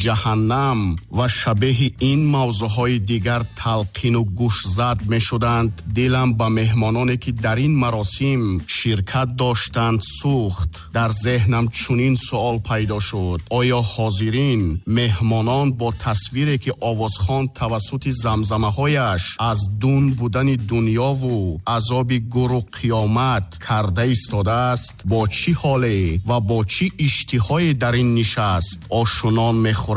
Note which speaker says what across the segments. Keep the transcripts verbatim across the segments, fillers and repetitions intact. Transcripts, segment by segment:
Speaker 1: Ҷаҳаннам ва шабеҳи ин мавзӯъҳои дигар талқину гӯшзад мешуданд, дилам ба меҳмононе, ки дар ин маросим ширкат доштанд, сӯхт. Дар зеҳнам чунин суол пайдо шуд: оё ҳозирин меҳмонон бо тасвире, ки овозхон тавассути замзамаҳояш аз дун будани дунёву азоби гуру қиёмат карда истодааст, бо чӣ ҳоле ва бо чӣ иштиҳое дар ин нишаст ошунон мехӯранд?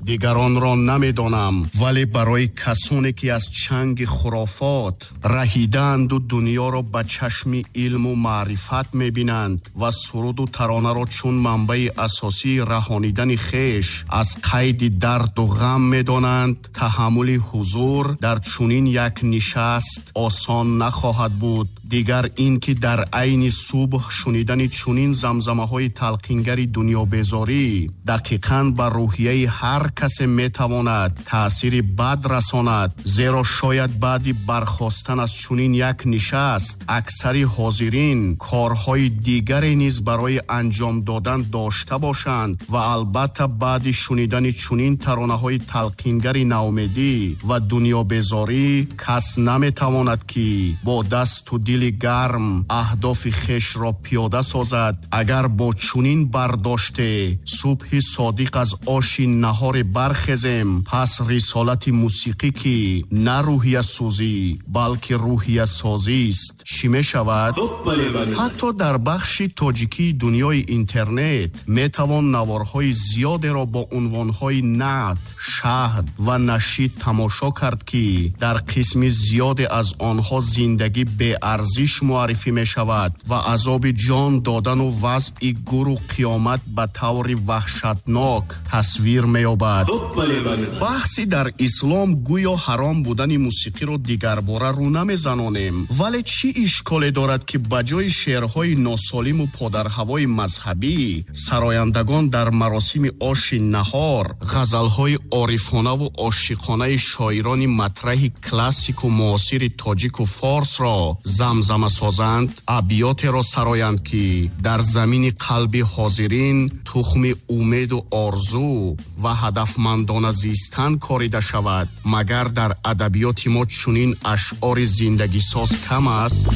Speaker 1: Дигаронро намедонам, вале барои касоне, ки аз чанги хурофот раҳидаанду дунёро ба чашми илму маърифат мебинанд ва суруду таронаро чун манбаи асосии раҳонидани хеш аз қайди дарду ғам медонанд, таҳаммули ҳузур дар чунин як нишаст осон нахоҳад буд. Дигар ин ки дар айни субҳ шунидани чунин замзамаҳои талқингари дунёбезорӣ дақиқан ба рӯҳияи ҳар касе метавонад таъсири бад расонад, зеро шояд баъди бархостан аз чунин як нишаст аксари ҳозирин корҳои дигаре низ барои анҷом додан дошта бошанд ва албатта баъди шунидани чунин таронаҳои талқингари наумедӣ ва дунёбезорӣ кас наметавонад, ки бо дасту дили гарм аҳдофи хешро пиёда созад. Агар бо чунин бардоште субҳи содиқ аз оши наҳоре бархезем, пас рисолати мусиқӣ, ки на рӯҳиясӯзӣ, балки рӯҳиясозист, чӣ мешавад? Ҳатто дар бахши тоҷикии дунёи интернет метавон наворҳои зиёдеро бо унвонҳои наът, шаҳд ва нашид тамошо кард, ки дар қисми зиёде аз онҳо зиндагӣ беарзиш муаррифӣ мешавад ва азоби ҷон додану вазъи гуру қиёмат ба таври ваҳшатнок тасвир меёбад. Баҳси дар ислом гӯё ҳаром будани мусиқиро дигарбора рӯ намезанонем, вале чӣ ишколе дорад, ки ба ҷои шеърҳои носолиму подарҳавои мазҳабӣ сарояндагон дар маросими оши наҳор ғазалҳои орифонаву ошиқонаи шоирони матраҳи классику муосири тоҷику форсро замзама созанд, абётеро сароянд, ки дар замини қалби ҳозирин тухми умеду орзу ва ҳадафмандона зистан корида шавад? Магар дар адабиёти мо чунин ашъори зиндагисоз кам аст?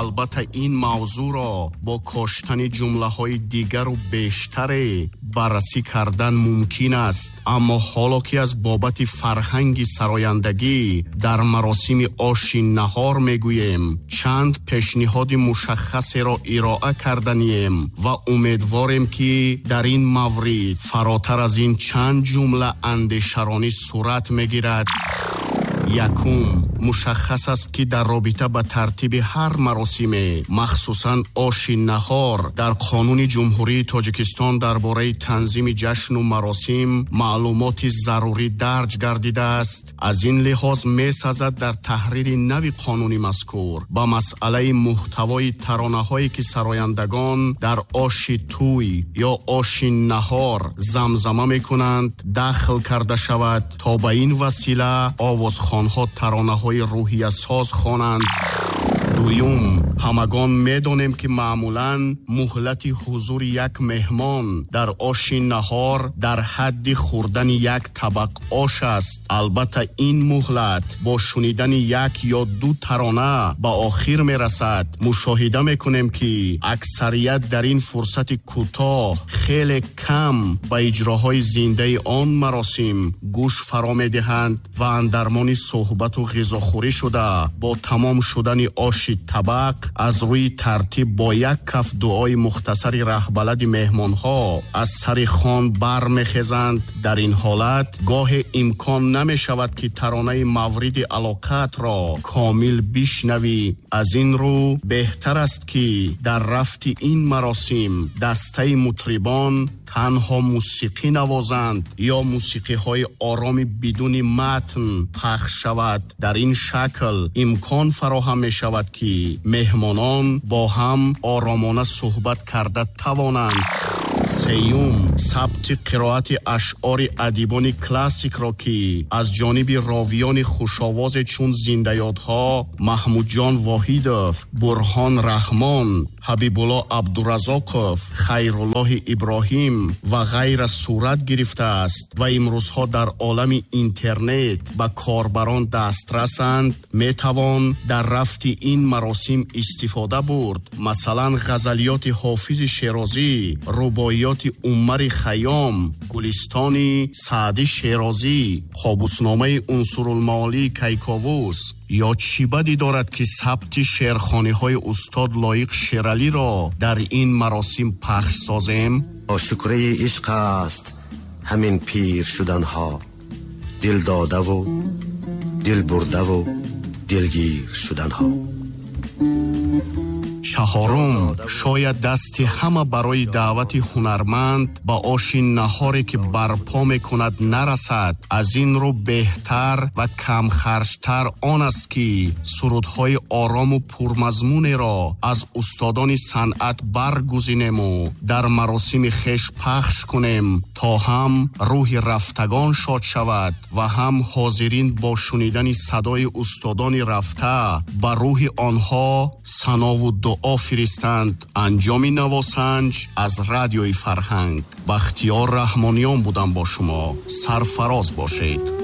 Speaker 1: Албатта, ин мавзӯъро бо коштани ҷумлаҳои дигару бештаре баррасӣ кардан мумкин аст, аммо ҳоло ки аз бобати фарҳанги сарояндагӣ дар маросими оши наҳор мегӯем, чанд пешниҳоди мушаххасеро ироа карданием ва умедворем, ки дар ин маврид фаротар аз ин чанд ҷумла андешаронӣ сурат мегирад. Якум, мушаххас аст, ки дар робита ба тартиби ҳар маросиме, махсусан оши наҳор, дар Қонуни Ҷумҳурии Тоҷикистон дар бораи танзими ҷашну маросим маълумоти зарурӣ дарҷ гардидааст. Аз ин лиҳоз месазад дар таҳрири нави қонуни мазкур ба масъалаи муҳтавои таронаҳое, ки сарояндагон дар оши тӯй ё оши наҳор замзама мекунанд, дахл карда шавад, то ба ин васила овозхонҳо таронаҳои рӯҳиясоз хонанд. Дуюм, ҳамагон медонем, ки маъмулан муҳлати ҳузури як меҳмон дар оши наҳор дар ҳадди хӯрдани як табақ ош аст. Албатта, ин муҳлат бо шунидани як ё ду тарона ба охир мерасад. Мушоҳида мекунем, ки аксарият дар ин фурсати кӯтоҳ хеле кам ба иҷроҳои зиндаи он маросим гӯш фаро медиҳанд ва андармони суҳбату ғизохӯрӣ шуда, бо тамом шудани оши табақ аз рӯи тартиб бо як каф дуои мухтасари раҳбалади меҳмонҳо аз сари хон бармехезанд. Дар ин ҳолат гоҳе имкон намешавад, ки таронаи мавриди алоқаатро комил бишнавӣ. Аз ин рӯ беҳтар аст, ки дар рафти ин маросим дастаи мутрибон танҳо мусиқӣ навозанд ё мусиқиҳои ороми бидуни матн пахш шавад. Дар ин шакл имкон фароҳам мешавад, ки меҳмонон бо ҳам оромона суҳбат карда тавонанд. Сеюм, сабти қироати ашъори адибони классикро, ки аз ҷониби ровиёни хушовозе чун зиндаёдҳо Маҳмудҷон Воҳидов, Бурҳон Раҳмон, Ҳабибулло Абдуразоқов, Хайруллоҳи Иброҳим ва ғайра сурат гирифтааст ва имрӯзҳо дар олами интернет ба корбарон дастрасанд, метавон дар рафти ин маросим истифода бурд. Масалан, ғазалиёти Ҳофизи Шерозӣ, рубоиёти Умари Хайём, Гулистони Саъди Шерозӣ, Қобусномаи Унсурулмаолии Кайковус. Ё чӣ бадӣ дорад, ки сабти шеърхониҳои устод Лоиқ Шералиро дар ин маросим пахш созем?
Speaker 2: Шукраи ишқ аст ҳамин пир шуданҳо, дил додаву дил бурдаву дилгир шуданҳо.
Speaker 1: Чаҳорум, шояд дасти ҳама барои даъвати ҳунарманд ба оши наҳоре ки барпо мекунад нарасад. Аз ин рӯ беҳтар ва камхарҷтар он аст, ки сурудҳои орому пурмазмунеро аз устодони санъат баргузинему дар маросими хеш пахш кунем, то ҳам рӯҳи рафтагон шод шавад ва ҳам ҳозирин бо шунидани садои устодони рафта ба рӯҳи онҳо санову дуо фиристанд. Анҷоми навосанҷ аз Радиои Фарҳанг. Бахтиёр Раҳмониён будам бо шумо. Сарфароз бошед.